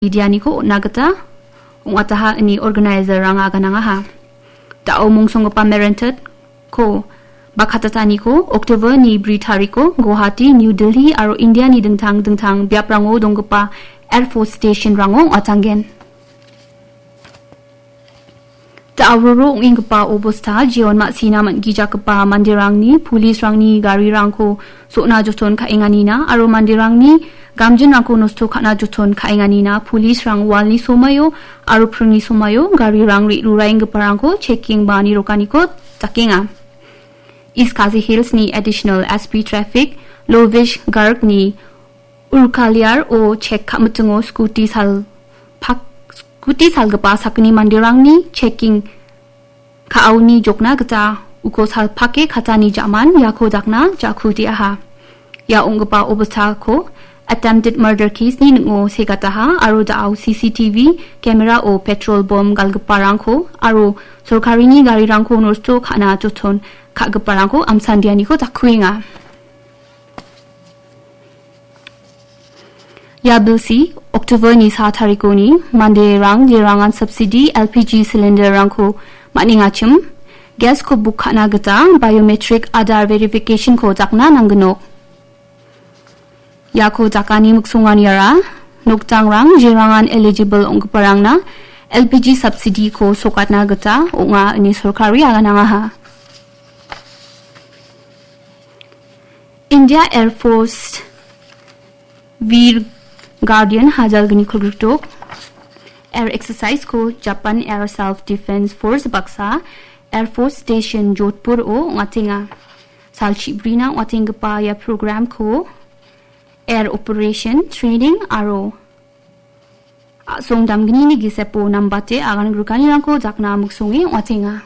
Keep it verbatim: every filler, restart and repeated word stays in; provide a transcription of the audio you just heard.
medianiko on·na gita ong·ataha ine organizerrang aganangaha. Da·o mongsonggipa merentetko bakatataniko October ni bri tariko Guwahati, New Delhi aro Indiani dingtang dingtang biaprango donggipa Air Force Stationrango ong·atanggen. Da·aroro ong·enggipa obosta jeon ma·sina man·gijakgipa manderangni polisrangni garirangko so·na joton ka·enganina aro manderangni gamjinrangko nosto ka·na joton ka·enganina polisrang walni somaio aro pringni somaio garirang re·ruraenggiparangko checking ba nirokaniko dakenga. East Khasi Hillsni Additional S P Traffic Lovish Gargni Urkaliar o chek ka·mitingo skuti sal-, pak-, skuti salgipa sakgni manderangni checking ka·aoni jokna gita uko salpake katani ja·man iako dakna ja·kudiaha. Ia ong·gipa obostako attempted murder case-ni ning·o segataha aro da·ao C C T V camera-o petrol bom galgiparangko aro sorkarini garirangko nosto ka·na joton ka·giparangko amsandianiko dakkuenga. Ia bilsi October-ni sa tarikoni manderang jerangan subsidy L P G cylinder-rangko man·engachim, gas-ko book ka·na gita biometric Aadhaar verification-ko dakna nanggnok. Iako dakani miksonganiara nokdangrang jerangan eligible ong·giparangna L P G subsidy-ko sokatna gita ong·a ine sorkari aganangaha. India Air Force Veer Guardian hajalgni kolgrikdok air exercise-ko Japan Air Self Defense Force baksa Air Force Station Jodhpur-o ong·atenga. Salchibrina ong·atenggipa ia program-ko air operation training aro a·song damgnini gisepo nambate agan grikanirangko dakna miksonge ong·atenga.